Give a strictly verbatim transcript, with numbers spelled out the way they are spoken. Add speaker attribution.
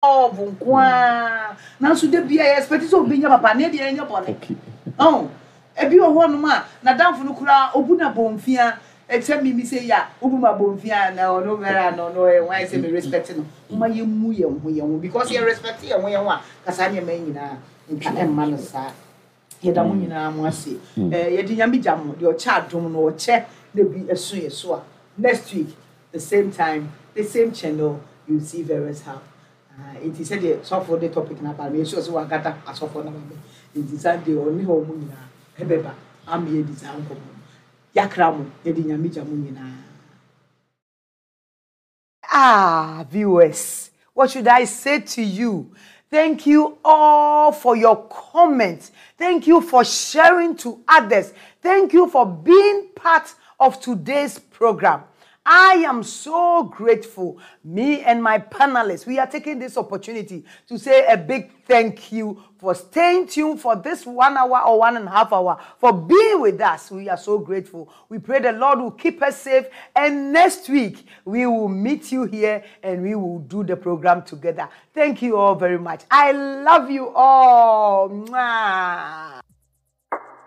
Speaker 1: Love nko ara, nanso da bia yɛ expect sɛ obi nyɛ papa ne deɛ ɛnyɛ bɔne. Ɔn, ebi wɔ hɔnom a n'adamfo no koraa obu na bɔnfia ɛkyɛ mimi sɛ yi a wobu ma bɔnfia na ɔno bɛrɛ na ɔno ɔyɛ wɔn ayɛ sɛ me respect no. Mo ma yɛn mu yɛn ho yɛn ho, because yɛ respect yɛn ho yɛn ho a, kasa nneɛma yi nyinaa nka ɛmma no saa. Yɛda mo nyinaa mo ase. ɛɛ yɛde Nyame gya mo deɛ ɔkyɛ adom no, ɔkyɛ na bi ɛso yɛ so a, next week, the same time, the same channel, you see various how. Nti sɛdeɛ sɔfo de topic na ba no, yɛsɛ sɛ wagata asɔfo na ba bɛ, nti Sunday ɔne hɔ mu nyinaa ɛbɛba ama yɛdi saa nkɔmmɔ no. Yɛakra mo, yɛde Nyame gya mo nyinaa. Ah, viewers, what should I say to you? Thank you all for your comments. Thank you for sharing to others. Thank you for being part of today's program. I am so grateful. Me and my panelists, we are taking this opportunity to say a big thank you for staying tuned for this one hour or one and a half hour, for being with us. We are so grateful. We pray the Lord will keep us safe. And next week, we will meet you here and we will do the program together. Thank you all very much. I love you all. Mwah.